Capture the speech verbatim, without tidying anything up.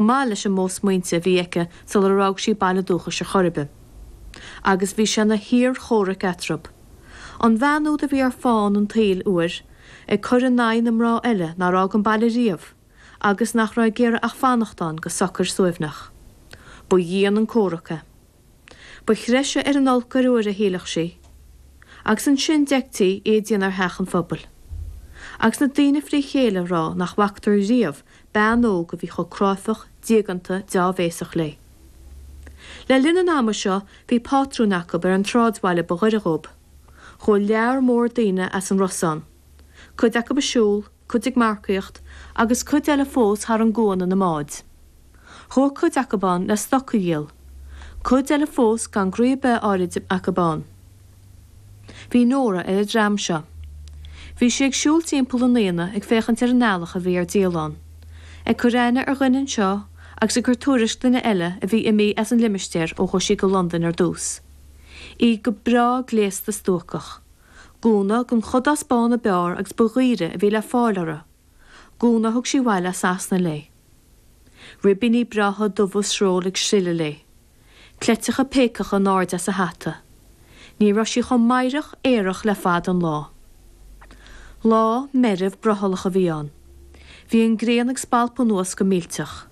maith leis an modh smaointe a bhí aici sular fhág sí baile dúchais ar chor ar bith. Agus bhí sé ina thír chomhraic eatarthu. An bhean úd a bhí ar fán an tsaoil uair, ag cur in aghaidh na mná eile nár fhág an baile riamh agus nach raibh ag iarraidh ach fanacht ann go socair suaimhneach. Ba dhian an comhrac é. Ba threise ar an olc corruair a shílfeadh sí. Agus ansin d'fheictí í ag déanamh ar theach an phobail. Agus na daoine fré chéile ag rá nach bhfacthar riamh bean óg a bhí chomh cráifeach, diaganta, deá-bhéasach léi. Le linn an ama seo bhí pátrún acu ar an tsráidbhaile ba ghaire dhóibh. Chuaigh lear mór daoine as an Ros ann. Cuid acu ag siúl, cuid ag marcaíocht agus cuid eile fós thar an gcuan ina mbáid. Chuaigh cuid acu ann le stoc a dhíol. Cuid eile fós gan groí ar bith áirid acu ann. Bhí Nóra ar an dream seo. Bhí sí ag siúl timpeall an aonaigh ag féachaint ar an eallach a bhí ar díol ann. Ag cur aithne ar dhuine anseo agus ag cur tuairisc duine eile a bhí imithe as an limistéar ó chuaigh sí go Londain ar dtús. Í go breá gléasta stuacach. Gúna den chudás bán ab fhearr agus ba dhaoire a bhí le fáil uirthi. Gúna a thug sí abhaile as Sasana léi. Ribíní breátha dubha sróil ag sileadh léi. Cleiteacha péacacha in airde as a hata. Ní raibh sí chomh meidhreach aerach le fada an lá. Lá meirbh brothallach a bhí ann. Bhí an ghrian ag spalpadh anuas go millteach.